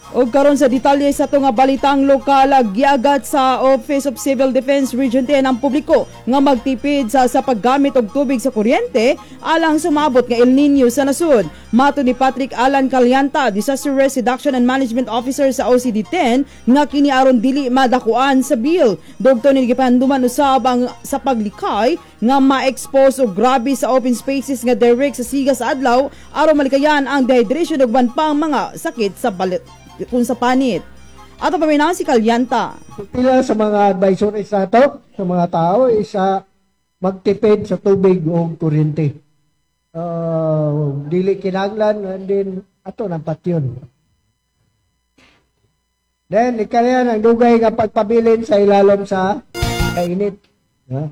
Og karon sa detalye sa ato nga balitang lokal, giagat sa Office of Civil Defense Region 10 ang publiko nga magtipid sa paggamit og tubig sa kuryente alang sumabot nga El Nino sa nasud. Mato ni Patrick Alan Calianta, Disaster Risk Reduction and Management Officer sa OCD 10, nga kini aron dili madakuan sa bill. Dugto ni gipahanduman usab ang sa paglikay nga ma-expose og grabe sa open spaces nga direct sa siga sa adlaw aron malikayan ang dehydration ug uban pang mga sakit sa balit kung sa panit. Ato paminaw si Kalyanta. Pila sa mga advisories nato sa mga tao is magtipid sa tubig o kuryente. Dili kinahanglan, and then ato nang patyon. Then ikayan ang dugay nga pagpabilin sa ilalom sa kainit. Ha?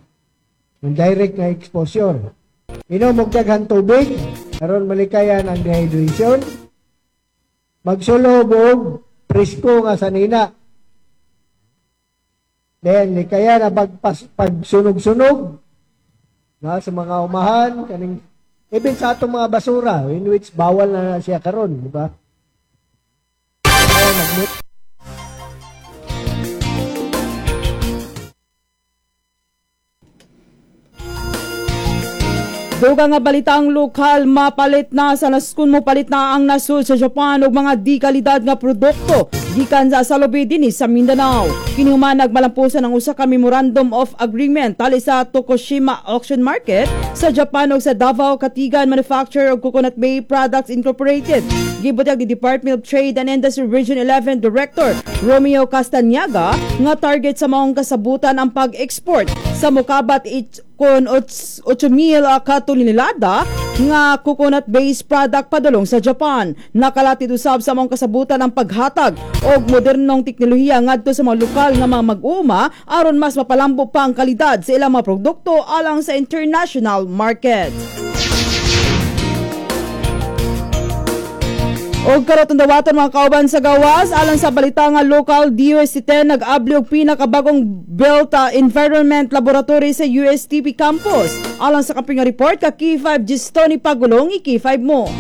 Yung direct nga exposure. Inom og daghan tubig aron malikayan ang dehydration. Magsulob og presko nga sanina. Then kaya na pagsunog-sunog na sa mga umahan kaning even sa atong mga basura, in which bawal na siya karon, di ba? Kaya Duga nga balitang lokal, mapalit na sa naskun mo palit na ang nasud sa Japan og mga di kalidad nga produkto gikan sa salubi dinhi sa Mindanao. Kini human nagmalampusan ang usa ka Memorandum of Agreement tali sa Tokushima Auction Market sa Japan ug sa Davao Katigan Manufacturer of Coconut Bay Products Incorporated. Gibutyag ni Department of Trade and Industry Region 11 Director Romeo Castañaga nga target sa maong kasabutan ang pag-export sa mokabat kon 8,000 ka tonelada nga coconut-based product padulong sa Japan. Nakalatid usab sa maong kasabutan ang paghatag og modernong teknolohiya ngadto sa mga lokal nga mga mag-uuma aron mas mapalambo pa ang kalidad sa ilang mga produkto alang sa international market. Og karon dawaton mga kauban sa gawas alang sa balita nga lokal, DOST 10 nag-abli og pinakabagong built environment laboratory sa USTP campus. Alang sa kaping report ka K5 Gistoni Pagulong, i-K5 mo.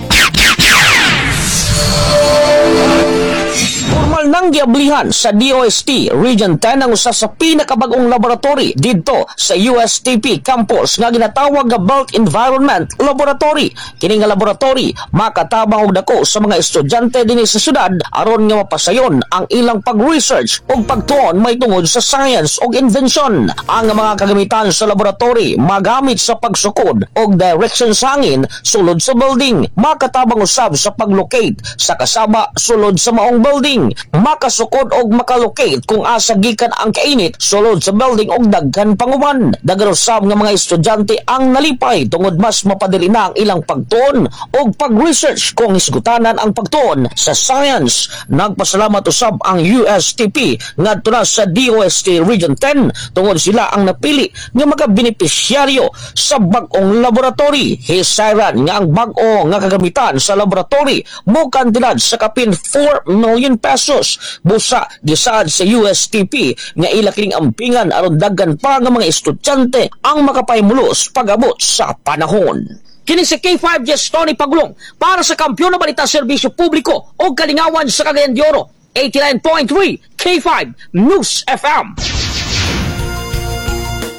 Formal nang giablihan sa DOST Region 10 ang usa sa pinakabag-ong laboratory didto sa USTP campus nga ginatawag nga Built Environment Laboratory. Kini nga laboratory makatabang og dako sa mga estudyante dinhi sa syudad aron nga mapasayon ang ilang pag-research ug pagtuon mahitungod sa science ug invention. Ang mga kagamitan sa laboratory magamit sa pagsukod og direction sa hangin sulod sa building, makatabang usab sa paglocate sa kasaba sulod sa maong building, makasukod og makalocate kung asa gikan ang kainit sulod sa building og daghan panguban. Daghan usab nga mga estudyante ang nalipay tungod mas mapadali na ang ilang pagtuon og pag-research kung hisgutanan ang pagtuon sa science. Nagpasalamat usab ang USTP ngadto na sa DOST Region 10 tungod sila ang napili nga makabenepisyaryo sa bag-ong laboratory. Hisayran nga ang bag-o nga kagamitan sa laboratory mo kantidad sa kapin 4 million pesos. Busa gisaad sa USTP nga ila kining ampingan aron daghan pa nga mga estudyante ang makapahimulos pag-abot sa panahon. Kini si K5 Yes Tony Pagulong para sa Kampeon na Balita Serbisyo Publiko o Kalingawan sa Cagayan de Oro, 89.3 K5 News FM.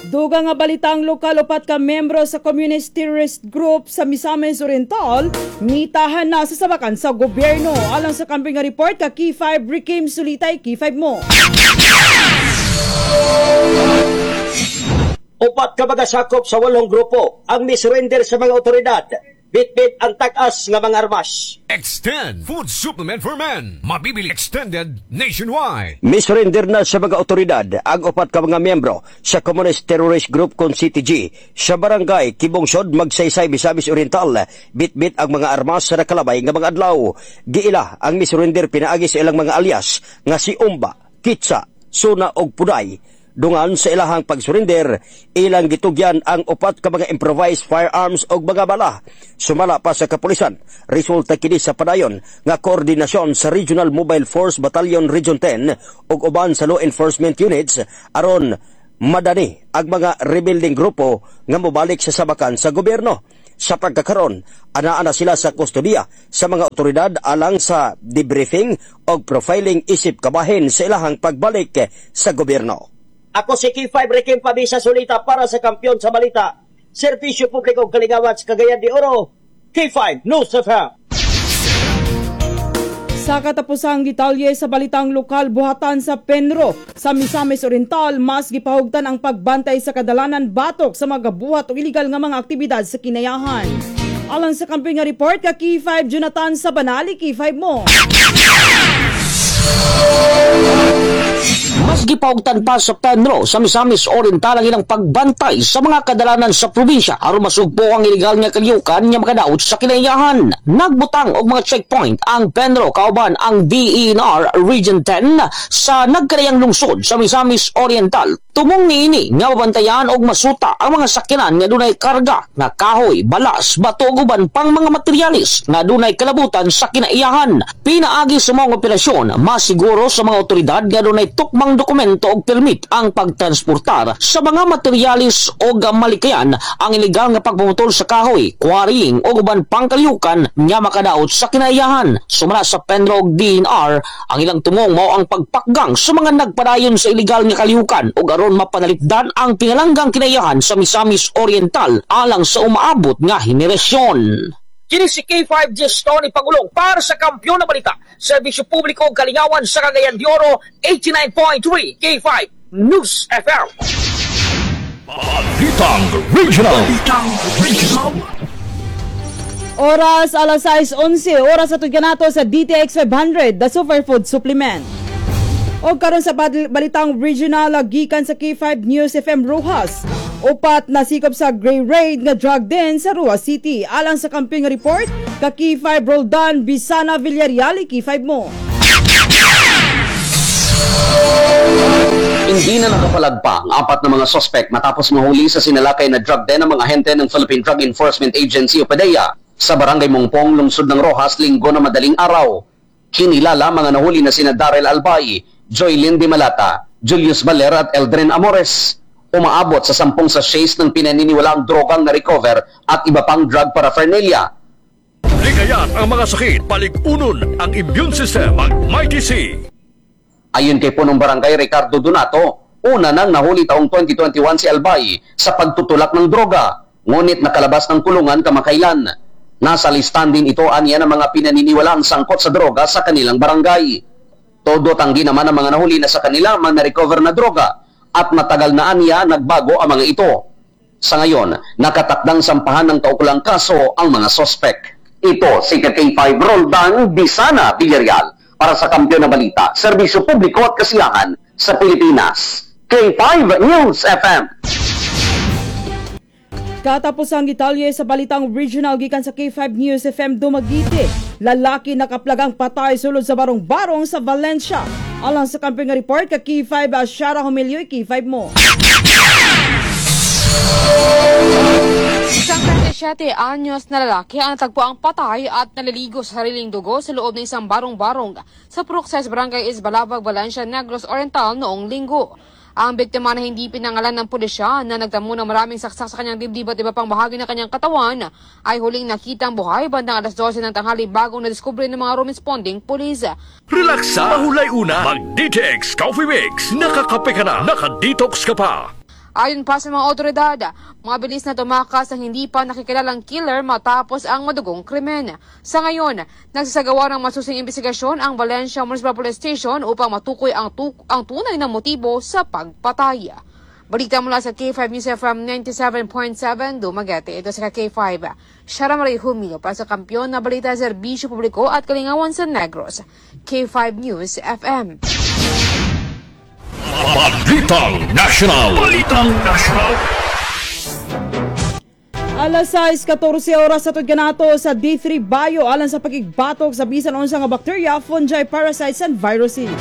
Duga nga balitang lokal, upat ka membro sa Communist Terrorist Group sa Misamis Oriental ngitahan na sa sabakan sa gobyerno. Alang sa kamping nga report ka K5 Rikim Sulitay, K5 mo. Upat ka mga sakop sa 8 grupo ang misurrender sa mga otoridad. Bitbit ang tag-as nga mga armas. Extend Food Supplement for Men. Mabibili Extended nationwide. Misurrender na sa mga otoridad ang upat ka mga miyembro sa Communist Terrorist Group kon CTG sa barangay Kibungsod, Magsaysay, Misamis Oriental. Bitbit ang mga armas sa nakalabay nga mga adlaw. Giila ang misurrender pinaagi sa ilang mga alias nga si Umba, Kitsa, Suna og Puday. Dungan sa ilahang pagsurrender, ilang gitugyan ang upat ka mga improvised firearms og mga bala. Sumala pa sa kapulisan, resulta kini sa padayon nga koordinasyon sa Regional Mobile Force Battalion Region 10 ug uban sa law enforcement units aron madani ang mga rebuilding grupo nga mobalik sa sabakan sa gobyerno. Sa pagkakaron, anaa na sila sa kustodiya sa mga otoridad alang sa debriefing o profiling isip kabahin sa ilahang pagbalik sa gobyerno. Ako si K5 Rekim Pabisa Sulita para sa Kampiyon sa Balita. Serbisyo Publiko Kalingawan sa Cagayan de Oro. K5 News FM. Sa katapusang detalye sa balitang lokal, buhatan sa Penro sa Misamis Oriental, mas gipahugtan ang pagbantay sa kadalanan batok sa mga buhat o iligal nga mga aktibidad sa kinayahan. Alang sa kampiyon nga report ka K5 Jonathan Sabanali, K5 mo. Mas gipaugtan pa sa Penro sa Misamis Oriental ang ilang pagbantay sa mga kadalanan sa probinsya aron masugpo ang ilegal nga kalyukan nga makadaot sa kinaiyahan. Nagbutang og mga checkpoint ang Penro kauban ang DENR Region 10 sa nagkarayang lungsod sa Misamis Oriental. Tumong niini nga mabantayan og masuta ang mga sakyanan nga dunay karga nga kahoy, balas, bato ug uban pang mga materyales nga dunay kalabutan sa kinaiyahan. Pinaagi sa mga operasyon, masiguro sa mga otoridad nga dunay tukmang dokumento og permit ang pagtransportar sa mga materyales og malikayan ang ilegal nga pagpumutol sa kahoy, quarrying o uban pang kalyukan nga makadaot sa kinaiyahan. Sumala sa Penro ug DNR, ang ilang tumong mao ang pagpakgang sa mga nagpadayon sa ilegal nga kalyukan ug aron mapanalipdan ang pinalanggang kinaiyahan sa Misamis Oriental alang sa umaabot nga henerasyon. Kini si K5 Tony Pagulong para sa Kampiyon na Balita, Serbisyo Publiko ug Kalingawan sa Cagayan de Oro, 89.3 K5 News FM. Balitang Regional. Balitang Regional. Oras alas 6:11, oras sa kanato sa DTX 500, the Superfood Supplement. O karon sa balitang regional, gikan sa K5 News FM Roxas. 4 na sikop sa Grey Raid nga drug den sa Roxas City. Alang sa campaign report, ka K5 Roldan Bisana Villarreal, K5 mo. Hindi na nakapalagpa ang 4 na mga sospek matapos mahuli sa sinalakay na drug den ng mga ahente ng Philippine Drug Enforcement Agency o PDEA sa Barangay Mongpong, lungsod ng Roxas, Linggo na madaling araw. Kinilala mga nahuli na sina Darrell Albay, Joylyn Di Malata, Julius Baler at Eldrin Amores. Umaabot sa 10 sachets ng pinaniniwalaang drogang na-recover at iba pang drug paraphernalia. Likayan ang mga sakit, palig-unon ang immune system, mag Mighty C. Ayon kay punong barangay Ricardo Donato, una nang nahuli taong 2021 si Albay sa pagtutulak ng droga, ngunit nakalabas ng kulungan kamakailan. Nasa listahan din ito aniya ng mga pinaniniwalaang sangkot sa droga sa kanilang barangay. Todo tanggi naman ang mga nahuli na sa kanila mga na-recover na droga at matagal na aniya nagbago ang mga ito. Sa ngayon, nakatakdang sampahan ng kaukulang kaso ang mga sospek. Ito si K5 Roldan Bisana Villarreal para sa Kampiyon na Balita, Serbisyo Publiko at Kasiyahan sa Pilipinas. K5 News FM. Katapos ang detalye sa balitang regional gikan sa K5 News FM Dumaguete. Lalaki nakaplagang patay sulod sa barong-barong sa Valencia. Alang sa campaign report ka K5 Ashara Humilyoy, K5 mo. Isang 37 anyos na lalaki ang natagpuang patay at naliligo sa sariling dugo sa loob ng isang barong-barong sa Purok Barangay Isbalabag, Valencia, Negros Oriental noong Linggo. Ang biktima na hindi pinangalan ng pulisya na nagtamo ng maraming saksak sa kanyang dibdib at iba pang bahagi ng kanyang katawan ay huling nakitang buhay bandang alas 12 ng tanghali bagong nadiskubre ng mga responding pulis. Relaxa, mahulay una, mag-DTX Coffee Mix. Nakakape ka na, naka-detox ka pa. Ayon pa sa mga otoridad, mabilis na tumakas ang hindi pa nakikilalang killer matapos ang madugong krimen. Sa ngayon, nagsasagawa ng masusing investigasyon ang Valencia Municipal Police Station upang matukoy ang tunay na motibo sa pagpatay. Balita mula sa K5 News FM 97.7 Dumaguete. Ito sa K5. Shara Marie Humilo para sa Kampiyon na Balita, Serbisyo Publiko at Kalingawan sa Negros. K5 News FM. Balitang National. Balitang National. Alas 6:14 oras sa kanato sa D3 Bio alang sa pagigbatok sa bisan unsa nga bacteria, fungi, parasites and viruses.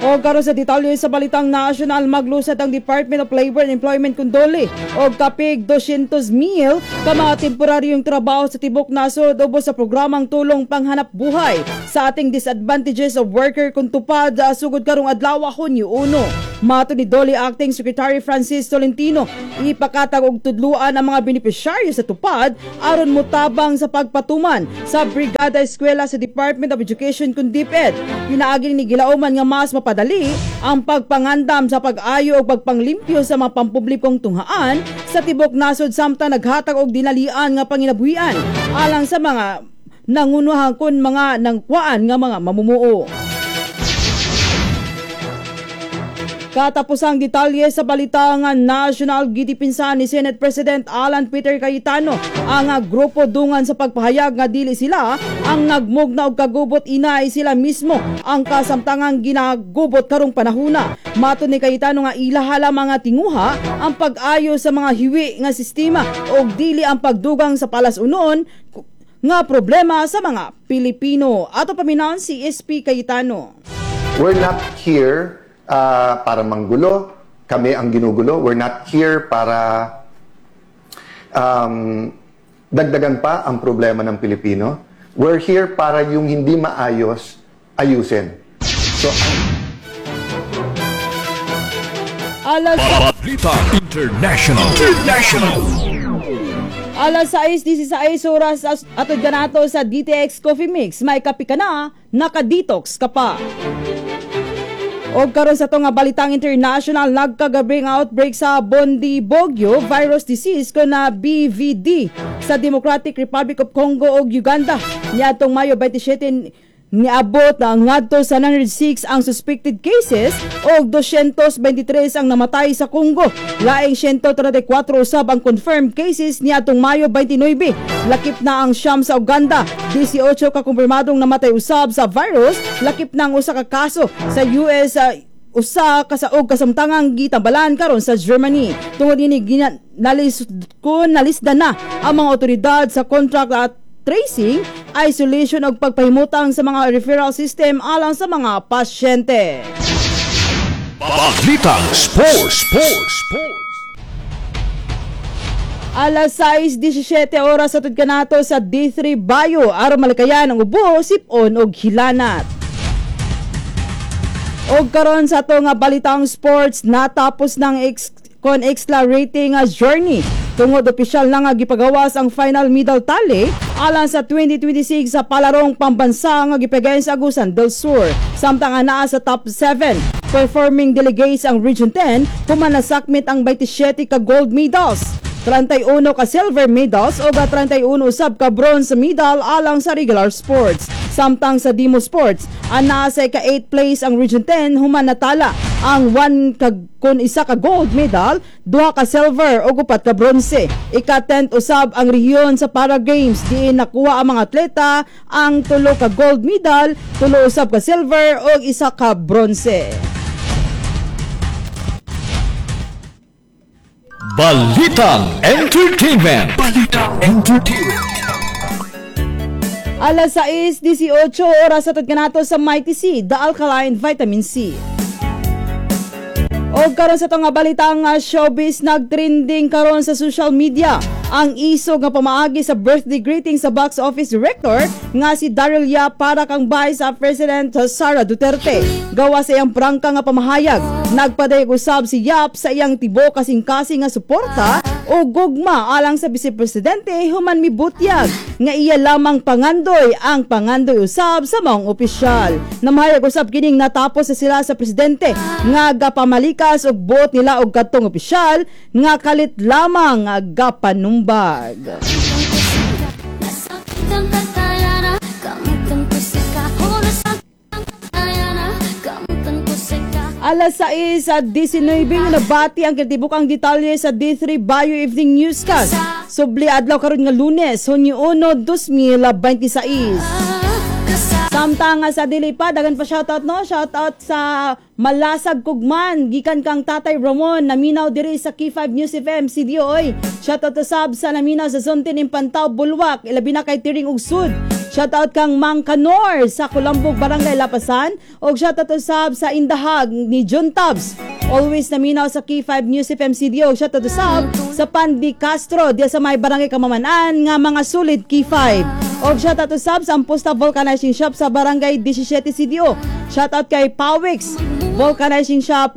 O karon sa detalye sa balitang national, maglusad ang Department of Labor and Employment kundoli og kapig 200,000 ka mga temporaryong trabaho sa tibok nasod ubos sa programang tulong panghanap buhay sa ating disadvantages of worker kung tupad sugod karong adlaw, Hunyo 1. Matod ni DOLE Acting Secretary Francis Tolentino, ipakatag og tudluan ang mga benepisyaryo sa tupad aron motabang sa pagpatuman sa Brigada Eskwela sa Department of Education kun DepEd. Pinaagi ni gilauman nga mas mapadali ang pagpangandam sa pag-ayo ug pagpanglimpyo sa mga pampublikong tunghaan sa tibok nasod samtang naghatag og dinalian nga panginabuhian alang sa mga nangunuhan kun mga nangkwaan nga mga mamumuo. Katapusang detalye sa balita nga national, gidipinsa ni Senate President Alan Peter Cayetano ang grupo dungan sa pagpahayag nga dili sila ang nagmugna og kagubot, inay sila mismo ang kasamtangang ginagubot karong panahuna. Matod ni Cayetano nga ilaha lamang nga tinguha ang pag-ayo sa mga hiwi nga sistema og dili ang pagdugang sa palas-unon nga problema sa mga Pilipino. Ato paminawon si SP Cayetano. We're not here para manggulo, kami ang ginugulo. We're not here para dagdagan pa ang problema ng Pilipino. We're here para yung hindi maayos, ayusin. So, Alas Balita International. International. Alas 6:16 oras atod kanato sa DTX Coffee Mix. May kape ka na, naka-detox ka pa. Og karon sa to nga balitang international, nagkagabi nga outbreak sa Bundibugyo virus disease ko na BVD sa Democratic Republic of Congo ug Uganda. Niadtong Mayo 27 niabot na ngadto sa 906 ang suspected cases og 223 ang namatay sa Congo. Laing 134 usab ang confirmed cases niadtong Mayo 29. Lakip na ang siyam sa Uganda, 18 ka kumpirmadong namatay usab sa virus, lakip na ang usa ka kaso sa US, usa ka sa og kasamtangang gitambalan karon sa Germany. Tungod ini nalisda na ang mga otoridad sa contract at tracing, isolation ug pagpahimutang sa mga referral system alang sa mga pasyente. Balitang Sports, Sports, Sports. Alas 6:17 oras atod kanato sa D3 Bio aron malikayan ang ubo, sipon ug hilanat. Og karon sa ato nga balitang sports, natapos ng kon extra rating nga journey tungod opisyal na nga gipagawas ang final medal tally alang sa 2026 sa palarong pambansa nga gipagayon sa Agusan del Sur. Samtang anaa sa top 7 performing delegates ang Region 10, human nasakmit ang 27 ka gold medals, 31 ka silver medals o 31 usab ka bronze medal alang sa regular sports. Samtang sa Demo Sports, anaa sa ika-8 place ang Region 10 human natala ang 1 ka kun isa ka gold medal, 2 ka silver ug 4 ka bronze. Ika-10 usab ang rehiyon sa Para Games diin nakuha ang mga atleta ang 3 ka gold medal, 3 usab ka silver ug 1 ka bronze. Balitang Entertainment. Balitang Entertainment. Alas 6:18 oras atod kanato sa Mighty C, the Alkaline Vitamin C. Og karon sa to nga balitang showbiz, nagtrending karon sa social media ang isog nga pamaagi sa birthday greeting sa box office director nga si Daryl Yap para kang Vice President Sara Duterte. Gawa sa iyang prangka nga pamahayag, nagpadayag usab si Yap sa iyang tibo kasing-kasing nga suporta o gugma alang sa Vice Presidente human mibutyag nga iya lamang pangandoy ang pangandoy usab sa maong opisyal. Namahayag usab kining natapos na sila sa presidente nga gapamalikas og buot nila og kadtong opisyal nga kalit lamang nga gapanumbag. Alas 6:19 nabati ang kinatibukang detalye sa D3 Bio Evening Newscast. Subli adlaw karon nga Lunes, Hunyo 1, 2026. Samtang sa dili pa, dagan pa shoutout no, shoutout sa Malasag Kugman, gikan kang Tatay Ramon, naminaw diri sa K5 News FM, CDO oy. Shoutout sab sa naminaw sa Zone 10 Impantao, Bulwak, ilabi na kay Tiring Ugsud. Shoutout kang Mang Kanor sa Kulambog, Barangay Lapasan. Og shoutout usab sa Indahag ni John Tabs. Always naminaw sa K5 News FM CDO. Shoutout usab sa Pandi Castro diya sa may Barangay Kamaman-an nga mga sulit K5. Og shoutout usab sa Amposta Vulcanizing Shop sa Barangay 17 CDO. Shoutout kay Pawix Vulcanizing Shop,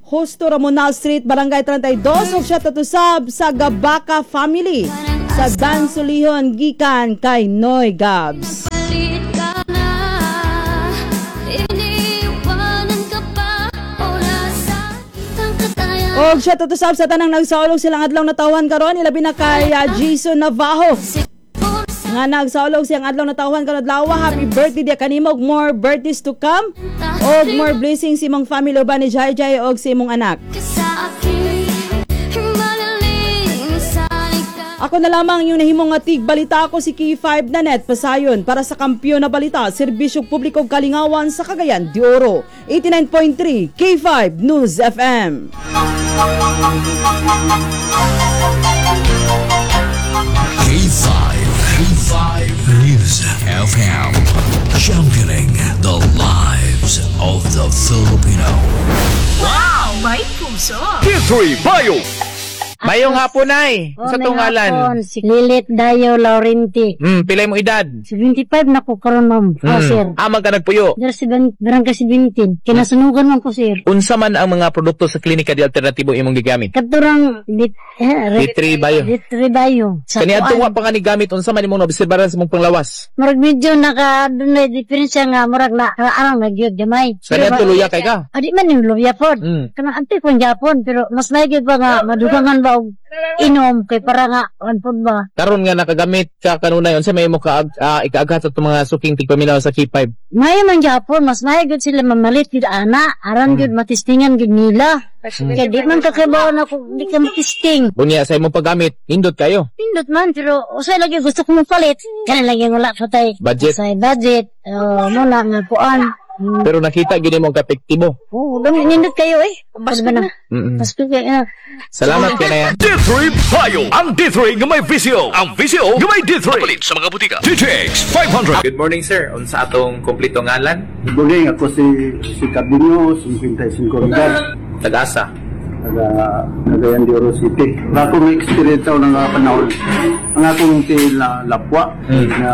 Justo Ramonal Street, Barangay 32. Ug shout out usab sa Gabaka family sa Dansolihon gikan kay Noy Gabs. Palit ka na, iniwanan ka pa o nasaktan ka tayo. Og shout out usab sa tanang nagsaulog silang adlaw natawhan karon, ilabi na kay Jason Navajo nga nagsaulog siyang adlaw natawhan karon adlaw. Happy birthday diya kanimo ug more birthdays to come og more blessings sa imong family uban ni Jai Jai og sa imong anak. Ka sa akin, magaling sana'y ka. Ako na lamang yung nahimong nga tig balita ko, si K5 na net pasayon para sa kampiyon na balita, serbisyo publiko ug kalingawan sa Cagayan de Oro. 89.3 K5 News FM. K5, K5 News FM. Championing the lives of the Filipino. Wow! May puso! K3 Bio. Mayong hapon ay. Oh, Sa may tungalan. hapon. Si Lilit Dayo Laurenti. Pilay mo edad? 75 na ko karon, ma'am. Oh, sir. Amang ka nagpuyo? Dara si Barangay 17. Kinasunugan man ko, sir. Unsa man ang mga produkto sa Klinika de Alternatibo imong gigamit? Katurang dit, eh, D3 Bio. D3 Bio. Sa Kani adto kuan. wa pa nga ni gamit, unsa man imong naobserbaran sa imong panglawas? Murag medyo naka dunay diferensya nga murag na arang na gyud gamay. Kani adto luya kay ka? Adi man yung luya pod. Kanang ante kon Japon, pero mas may gyud ba nga madugangan ba og inom kay para nga on pod ba. Karon nga nakagamit ka kanunay, unsa may imo ka ikaaghat sa atong mga suking tigpaminaw sa K5? Maayo man Japon, mas maayo gyud sila mamalit gyud ana, aran gyud matistingan gyud nila. Kay di man kakabaw na kung di ka matisting. Unya sa imong paggamit, nindot kayo. Pindot man, pero usay lagi gusto ko mapalit. Kana lagi wala pa tay. Budget. Usay budget. Oh, mo na nga kuan. Pero nakita gyud nimo ang kapektibo. Oh, gani nindot kayo eh. Pasko na. Pasko kayo. Salamat kay na. D3 Bio. Ang D3 nga may VCO. Ang VCO nga may D3. Palit sa mga butika. DTX 500. Good morning, sir. Unsa atong kompleto ngalan? Good morning, ako si si Cabino, 55 edad. Tagasa. Taga Cagayan de Oro City. Ang akong experience sa unang nga panahon, ang akong tiil na lapwa, na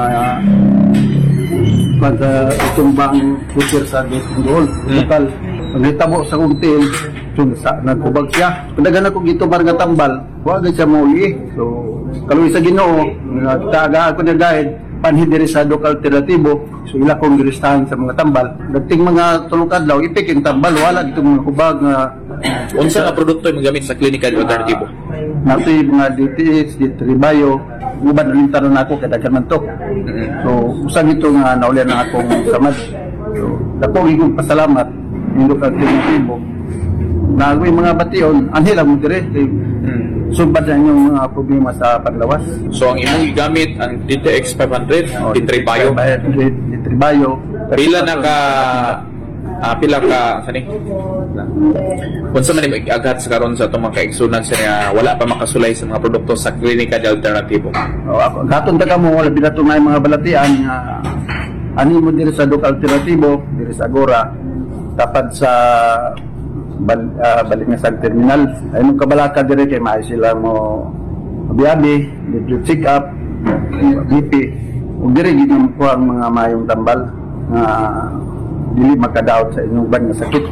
kwan sa itumbang putir sa Dool. Total, ang hitabo sa akong tiil, sa nagkubag siya. Padagan ako gitubar nga tambal, wa gid siya mauli. So, kaluoy sa Ginoo, taga ako na guide, panhin diri sa Dok Alternatibo, so ila kong giristahan sa mga tambal. Dagting mga tulong kadlaw, ipik yung tambal, wala dito mga hubag nga. Unsa nga produkto imong gamit sa Klinika de Alternatibo? Natoy mga DTH, D3 Bio, uban ulit taron ako kay daghan man to. So usang ito nga naulian ang akong samad. So dako gid kong pasalamat ning Dok Alternatibo. Na ako'y mga bation, anhi lang mo dire kay sumbat na inyong mga problema sa paglawas. So ang imong gigamit ang DTX 500, D3 Bio. D3 Bio. Pila na ka pila ka sani? Unsa man imong iaghat sa karon sa atong mga kaigsunan sa nga wala pa makasulay sa mga produkto sa Klinika de Alternatibo? O, ako, gatong ta kamo wala binato nga mga balatian nga ani mo diri sa Dok Alternatibo, diri sa Agora, tapad sa Balingasag Terminal. Ay mong kabalaka diri kay maayo sila mo biyabi, libre check up, BP. Ug diri gid mo ang mga mayong tambal nga dili makadaot sa inyong ban nga sakit.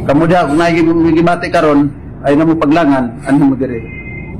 Kamo diha kung naay gibati karon ay namo paglangan ano mo diri.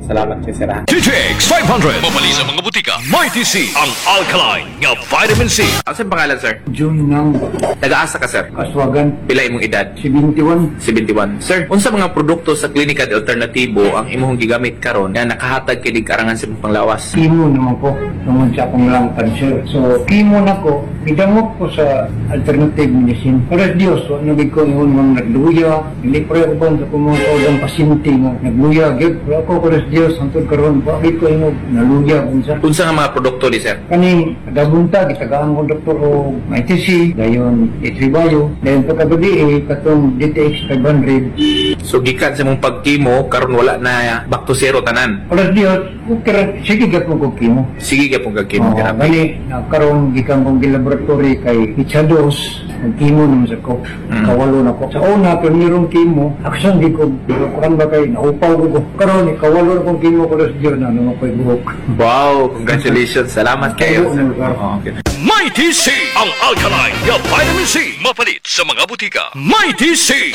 Salamat kay sir. DTX 500. Mabali sa mga butika. Mighty C. Ang alkaline nga vitamin C. Ano pangalan, sir? June ng Taga-asa ka, sir? Aswagan. Pila imong edad? 71. 71. Sir, unsa mga produkto sa Klinika de Alternatibo ang imong gigamit karon nga nakahatag kini karangan sa imong panglawas? Chemo naman ko tungod sa akong lung cancer. So, chemo na ko, gidangop ko sa alternative medicine. Pero Diyos, wa na gid ko ingon nga nagluya. Hindi pa ko sa akong mga kaulang pasyente nga nagluya gyud. Pero ako ko Diyos hangtod karon wa gid ko ingon naluya unsa. Unsa nga mga produkto ni sir? Kaning dagunta gitagaan ko doktor og ITC, dayon Itribayo, dayon pagkagabi eh, katong DTX 500. So gikan sa imong pagkimo karon wala na, back to zero tanan. Pero Diyos, okay ra, sige gyapon ko chemo. Sige gyapon kag chemo Oo, therapy. gani, na karon gikan kong gilaboratory kay Pichados, mag-chemo naman sa ko. Kawalo na ko. Sa una, primerong chemo, aksyon di ko, pero kuan ba kay, naupaw ko ko. Karon, kawalo na kong chemo ko sa Diyos na, nung ako'y buhok. Wow, congratulations. Salamat kayo, sir. Oo, okay. Mighty C. Ang alkaline nga vitamin C. Mapalit sa mga butika. Mighty C.